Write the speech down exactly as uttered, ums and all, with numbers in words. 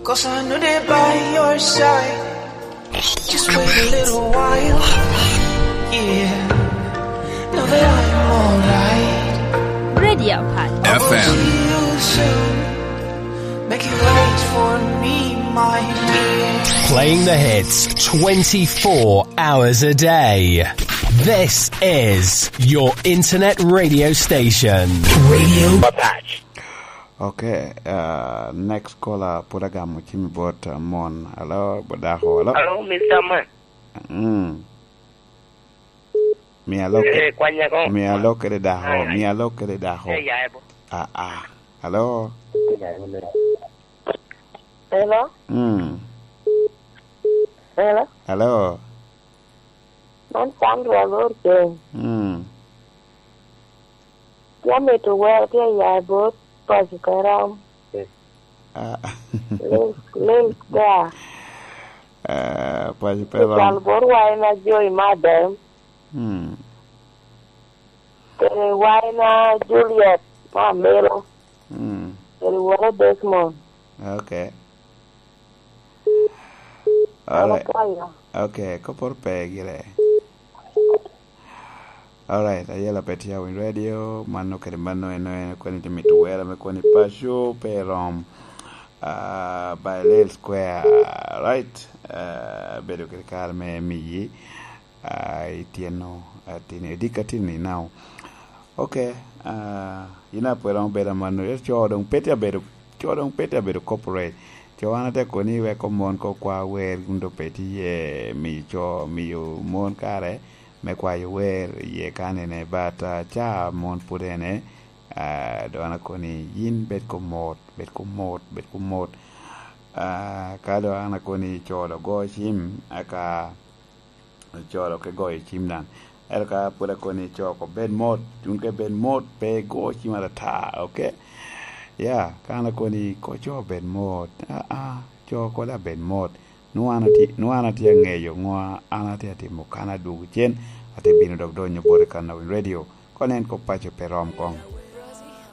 Cause I know they're by your side. Just wait a little while. Yeah. Know that I'm alright. Radio Pat. F M. See you soon. Make it right for me, my dear. Playing the hits twenty-four hours a day. This is your internet radio station. Radio Patch. Okay, uh, next caller, put a gamo cim bot, uh, mon. Hello, bot dako, hello? Hello, Mister Man. Mm. Mi alo ke-, eh, kwanya ko. Mi alo kede dako, mi alo kede dako. Eh, ya, ebo. Ah, ah. Hello? Hello? Mm. Hello? Hello? Man Sandra Lorke. Mm. Tye amito wer tye ya bot paco ka rom. Ah. Lil, Lil Square. Ah, paco pe rom. Cal bot waina Joy Madem. Hmm. Kede waina Juliet ma Amelo. Hmm. Kede woro Desmond. Okay. Alright. Alright. Okay, koporo pe gire. Alright, ayela pe tye awiny radio, mano kede mano en, en kwene tye mito wera me kwene paco, pe rom, ah, by Lil Square, right? Ah, bedo kede kare me miyi, ah, ityeno, ah, tini, edika tini now. Okay, ah, ina pwera obedo amanno, co doŋ pe tye abedo, co doŋ pe tye abedo corporate. Co an atye koni wek omon ko kwa wer, kun doŋ pe tye iye miyo co, miyo mon kare me kwayo wer iye kanene, but, ah, ca mon pwod ene, ah, doŋ an akoni yin bed ko mot, bed ko mot, bed ko mot. Ah, ka doŋ an akoni co doŋ go cim, aka co doŋ ke goyo cim daŋ. Ento ka pwod akoni co ko bed mot, cunke bed mot, pe go cim atata, okay? Ya, ka an akoni ko co bed mot, aa, co ko daŋ bed mot. Nwoŋo an atye, nwoŋo an atye aŋeyo ŋo an atye atimo kan adwogo cen, atye bino dok donyo boti kan awiny radio. Kono en kop paco pe rom koŋ.